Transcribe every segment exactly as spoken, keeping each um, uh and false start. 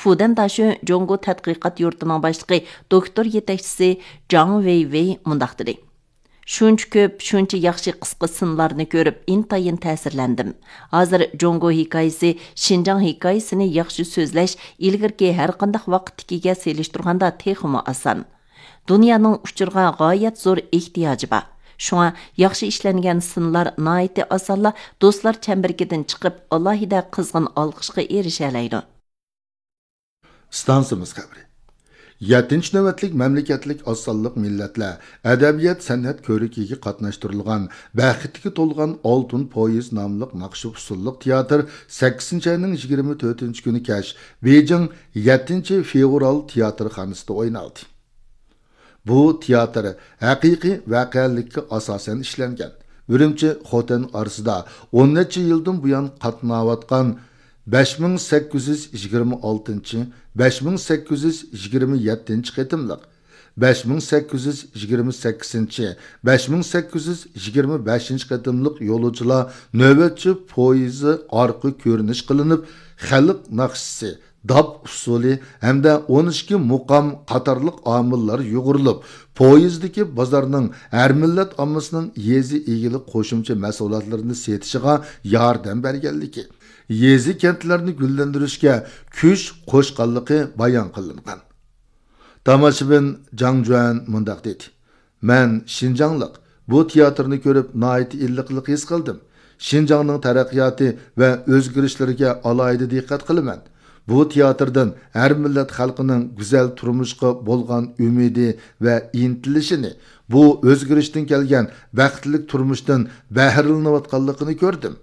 فۇدەن داشۆن جۇڭگو تەتقىقات يۇرتىنىڭ باشلىقى، دوكتور يېتەكچىسى جاڭ ۋېيۋېي مۇنداق دېدى: شۇنچە كۆپ، شۇنچە ياخشى قىسقا سىنلارنى كۆرۈپ، ئىنتايىن تەسىرلەندىم. ھازىر جۇڭگو ھېكايىسى شىنجاڭ ھېكايىسىنى ياخشى سۆزلەش ئىلگىرىكى ھەرقانداق ۋاقىتتىكىگە سېلىشتۇرغاندا تېخىمۇ ئاسان. دۇنيانىڭ ئۇچۇرغا غايەت زور ئېھتىياجى بار. شۇڭا ياخشى ئىشلەنگەن سىنلار ناھايىتى ئاسانلا دوستلار چەمبىرىكىدىن چىقىپ، ئالاھىدە قىزغىن ئالقىشقا ئېرىشەلەيدۇ. ئىستانسىمىز خەۋىرى. يەتتىنچى نۆۋەتلىك مەملىكەتلىك ئاز سانلىق مىللەتلەر ئەدەبىيات سەنئەت كۆرىكىگە قاتناشتۇرۇلغان بەختكە تولغان ئالتۇن پويىز ناملىق ناخشا ئۇسسۇللۇق تىياتىر سەككىزىنچى ئاينىڭ يىگىرمە تۆتىنچى كۈنى كەچ بېيجىڭ يەتتىنچى فېۋرال تىياتىرخانىسىدا ئوينالدى. بۇ تىياتىر ھەقىقىي ۋەقەلىككە ئاساسەن ئىشلەنگەن. ئۈرۈمچى خوتەن ئارىسىدا ئون نەچچە يىلدىن بۇيان قاتناۋاتقان بەش مىڭ سەككىز يۈز يىگىرمە ئالتىنچى، بەش مىڭ سەككىز يۈز يىگىرمە يەتتىنچى قېتىملىق، بەش مىڭ سەككىز يۈز يىگىرمە سەككىزىنچى، بەش مىڭ سەككىز يۈز يىگىرمە بەشىنچى قېتىملىق يولۇچىلار نۆۋەتچى پويىزى ئارقا كۆرۈنۈش قىلىنىپ، خەلق ناخشىسى، داپ ئۇسسۇلى ھەمدە ئون ئىككى مۇقام قاتارلىق ئامىللار يۇغۇرۇلۇپ، پويىزدىكى بازارنىڭ ھەر مىللەت ئاممىسىنىڭ يېزا ئىگىلىك قوشۇمچە مەھسۇلاتلىرىنى سېتىشىغا ياردەم بەرگەنلىكى، يېزا كەنتلەرنى گۈللەندۈرۈشكە كۈچ قوشقانلىقى بايان قىلىنغان. تاماشىبىن جاڭ جۈەن مۇنداق دېدى: مەن شىنجاڭلىق، بۇ تىياتىرنى كۆرۈپ ناھايىتى ئىللىقلىق ھېس قىلدىم. شىنجاڭنىڭ تەرەققىياتى ۋە ئۆزگىرىشلىرىگە ئالاھىدە دىققەت قىلىمەن. بۇ تىياتىردىن ھەر مىللەت خەلقىنىڭ گۈزەل تۇرمۇشقا بولغان ئۈمىدى ۋە ئىنتىلىشىنى، بۇ ئۆزگىرىشتىن كەلگەن بەختلىك تۇرمۇشتىن بەھرىلىنىۋاتقانلىقىنى كۆردۈم.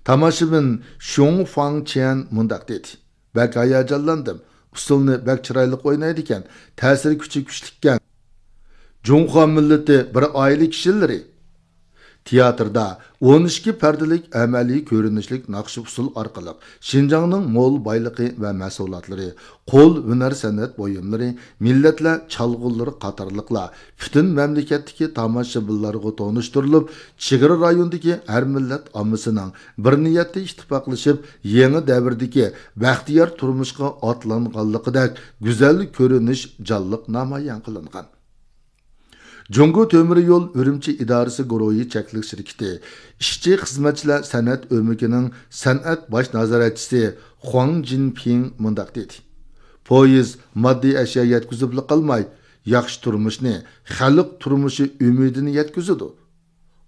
تاماشىبىن شۇڭ فاڭ چيەن مۇنداق دېدى: بەك ھاياجانلاندىم. ئۇسسۇلنى بەك چىرايلىق ئوينايدىكەن. تەسىر كۈچى كۈچلۈككەن. جۇڭخۇا مىللىتى بىر ئائىلە كىشىلىرى. تىياتىردا ئون ئىككى پەردىلىك ئەمەلىي كۆرۈنۈشلۈك ناخشا ئۇسسۇل ئارقىلىق شىنجاڭنىڭ مول بايلىقى ۋە مەھسۇلاتلىرى، قول ھۈنەر سەنئەت بۇيۇملىرى، مىللەتلەر چالغۇلىرى قاتارلىقلار پۈتۈن مەملىكەتتىكى تاماشىبىنلارغا تونۇشتۇرۇلۇپ، چېگرا رايوندىكى ھەر مىللەت ئاممىسىنىڭ بىر نىيەتتە ئىتتىپاقلىشىپ، يېڭى دەۋردىكى بەختىيار تۇرمۇشقا ئاتلانغانلىقىدەك گۈزەل كۆرۈنۈش جانلىق نامايان قىلىنغان. جۇڭگو تۆمۈر يول ئۈرۈمچى ئىدارىسى گۇرۇھى چەكلىك شىركىتى ئىشچى خىزمەتچىلەر سەنئەت ئۆمىكىنىڭ سەنئەت باش نازارەتچىسى خۇاڭ جىنپىڭ مۇنداق دېدى: پويىز ماددىي ئەشيا يەتكۈزۈپلا قالماي، ياخشى تۇرمۇشنى، خەلق تۇرمۇشى ئۈمىدىنى يەتكۈزىدۇ.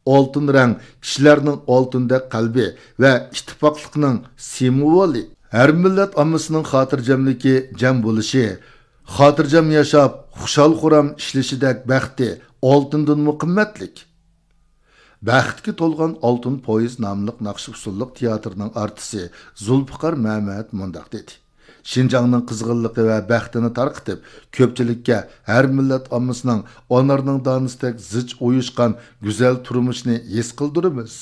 ئالتۇن رەڭ كىشىلەرنىڭ ئالتۇندەك قەلبى ۋە ئىتتىپاقلىقنىڭ سىمۋولى. ھەر مىللەت ئاممىسىنىڭ خاتىرجەملىكى، جەم بولۇشى، خاتىرجەم ياشاپ، خۇشال-خۇرام ئىشلىشىدەك بەختى ئالتۇندىنمۇ قىممەتلىك. بەختكە تولغان ئالتۇن پويىز ناملىق ناخشا-ئۇسسۇللۇق تىياتىرنىڭ ئارتىسى زۇلپىقار مەمەت مۇنداق دېدى: شىنجاڭنىڭ قىزغىنلىقى ۋە بەختىنى تارقىتىپ، كۆپچىلىككە ھەر مىللەت ئاممىسىنىڭ ئانارنىڭ دانىسىدەك زىچ ئۇيۇشقان گۈزەل تۇرمۇشىنى ھېس قىلدۇرىمىز.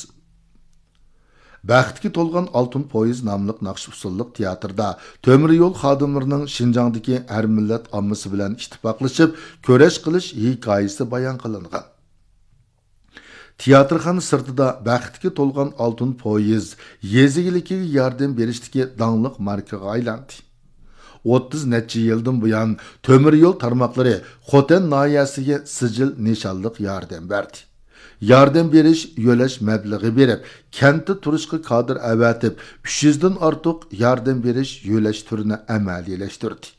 بەختكە تولغان ئالتۇن پويىز ناملىق ناخشا-ئۇسسۇللۇق تىياتىردا تۆمۈر يول خادىملىرىنىڭ شىنجاڭدىكى ھەر مىللەت ئاممىسى بىلەن ئىتتىپاقلىشىپ كۈرەش قىلىش ھېكايىسى بايان قىلىنغان. تىياتىرخانا سىرتىدا بەختكە تولغان ئالتۇن پويىز يېزا ئىگىلىكىگە ياردەم بېرىشتىكى داڭلىق ماركىغا ئايلاندى. ئوتتۇز نەچچە يىلدىن بۇيان تۆمۈر يول تارماقلىرى خوتەن ناھىيەسىگە سىجىل نىشانلىق ياردەم بەردى. ياردەم بېرىش يۆلەش مەبلىغى بېرىپ، كەنتتە تۇرۇشقا كادىر ئەۋەتىپ، ئۈچ يۈزدىن ئارتۇق ياردەم بېرىش يۆلەش تۈرىنى ئەمەلىيلەشتۈردى.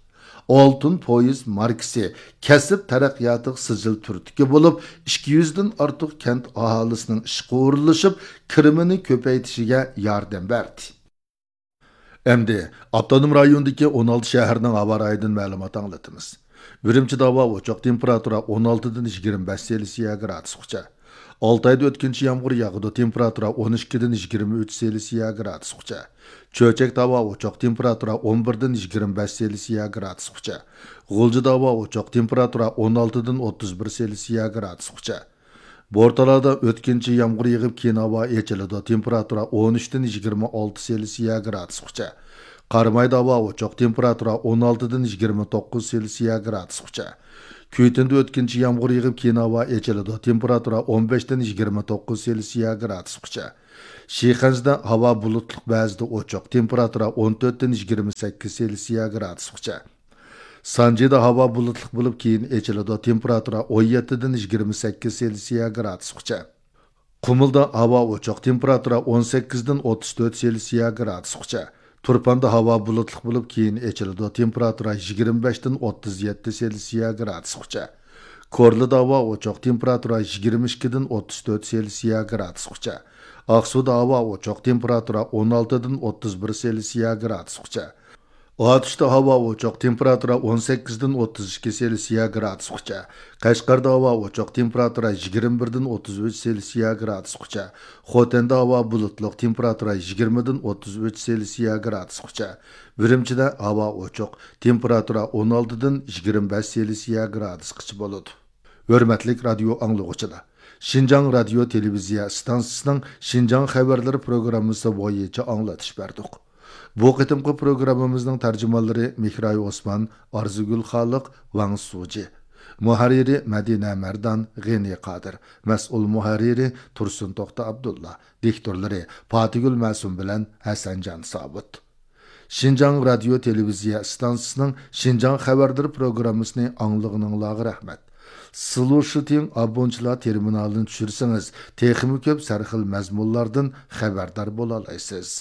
ئالتۇن پويىز ماركىسى كەسىپ تەرەققىياتىغا سىجىل تۈرتكە بولۇپ، ئىككى يۈزدىن ئارتۇق كەنت ئاھالىسىنىڭ ئىشقا ئورۇنلىشىپ، كىرىمىنى كۆپەيتىشىگە ياردەم بەردى. ئەمدى ئاپتونوم رايوندىكى ئون ئالتە شەھەرنىڭ ھاۋا رايىدىن مەلۇمات ئاڭلىتىمىز. ئۈرۈمچىدە ھاۋا ئوچۇق، تېمپېراتۇرا ئون ئالتىدىن يىگىرمە بەش سېلسىيە گرادۇسقىچە. ئالتايدا ئۆتكۈنچە يامغۇر ياغىدۇ، تېمپېراتۇرا ئون ئىككىدىن يىگىرمە ئۈچ سېلسىيە گرادۇسقىچە. چۆچەكتە ھاۋا ئوچۇق، تېمپېراتۇرا ئون بىردىن يىگىرمە بەش سېلسىيە گرادۇسقىچە. غۇلجىدا ھاۋا ئوچۇق، تېمپېراتۇرا ئون ئالتىدىن ئوتتۇز بىر سېلسىيە گرادۇسقىچە. بورتالادا ئۆتكۈنچى يامغۇر يېغىپ، كېيىن ھاۋا ئېچىلىدۇ، تېمپېراتۇرا ئون ئۈچتىن يىگىرمە ئالتە سېلسىيە گرادۇسقىچە. قارامايدا ھاۋا ئوچۇق، تېمپېراتۇرا ئون ئالتىدىن يىگىرمە توققۇز سېلسىيە گرادۇسقىچە. كۈيتۈندە ئۆتكۈنچى يامغۇر يېغىپ، كېيىن ھاۋا ئېچىلىدۇ، تېمپېراتۇرا ئون بەشتىن يىگىرمە توققۇز سېلسىيە گرادۇسقىچە. شىخەنزىدە ھاۋا بۇلۇتلۇق، بەزىدە ئوچۇق، تېمپېراتۇرا ئون تۆتتىن يىگىرمە سەككىز سېلسىيە گرادۇسقىچە. سانجىدا ھاۋا بۇلۇتلۇق بولۇپ، كېيىن ئېچىلىدۇ، تېمپېراتۇرا ئون يەتتىدىن يىگىرمە سەككىز سېلسىيە گرادۇسقىچە. قۇمۇلدا ھاۋا ئوچۇق، تېمپېراتۇرا ئون سەككىزدىن ئوتتۇز تۆت سېلسىيە گرادۇسقىچە. تۇرپاندا ھاۋا بۇلۇتلۇق بولۇپ، كېيىن ئېچىلىدۇ، تېمپېراتۇرا يىگىرمە بەشتىن ئوتتۇز يەتتە سېلسىيە گرادۇسقىچە. كورلىدا ھاۋا ئوچۇق، تېمپېراتۇرا يىگىرمە ئىككىدىن ئوتتۇز تۆت سېلسىيە گرادۇسقىچە. ئاقسۇدا ھاۋا ئوچۇق، تېمپېراتۇرا ئون ئالتىدىن ئوتتۇز بىر سېلسىيە گرادۇسقىچە. ئاتۇشتا ھاۋا ئوچۇق، تېمپېراتۇرا ئون سەككىزدىن ئوتتۇز ئىككى سېلسىيە گرادۇسقىچە. قەشقەردە ھاۋا ئوچۇق، تېمپېراتۇرا يىگىرمە بىردىن ئوتتۇز ئۈچ سېلسىيە گرادۇسقىچە. خوتەندە ھاۋا بۇلۇتلۇق، تېمپېراتۇرا يىگىرمىدىن ئوتتۇز ئۈچ سېلسىيە گرادۇسقىچە. ئۈرۈمچىدە ھاۋا ئوچۇق، تېمپېراتۇرا ئون ئالتىدىن يىگىرمە بەش سېلسىيە گرادۇسقىچە بولىدۇ. ھۆرمەتلىك رادىيو ئاڭلىغۇچىلار! شىنجاڭ رادىيو تېلېۋىزىيە ئىستانسىسىنىڭ شىنجاڭ خەۋەرلىرى پروگراممىسى بويىچە ئاڭلىتىش بەردۇق. بۇ قېتىمقى پروگراممىمىزنىڭ تەرجىمانلىرى مېھراي ئوسمان، ئارزۇگۈل خالىق، ۋاڭ سۇجى. مۇھەررىرى مەدىنە مەردان، غېنى قادىر. مەسئۇل مۇھەررىرى تۇرسۇن توختى ئابدۇللا. دىكتورلىرى پاتىگۈل مەسۇم بىلەن ھەسەنجان سابىت. شىنجاڭ رادىيو تېلېۋىزىيە ئىستانسىسىنىڭ شىنجاڭ خەۋەرلىرى پروگراممىسىنى ئاڭلىغىنىڭلارغا رەھمەت. سىلۇشىتىڭ ئابونچىلار تېرمىنالىنى چۈشۈرسىڭىز، تېخىمۇ كۆپ سەرخىل مەزمۇنلاردىن خەۋەردار بولالايسىز.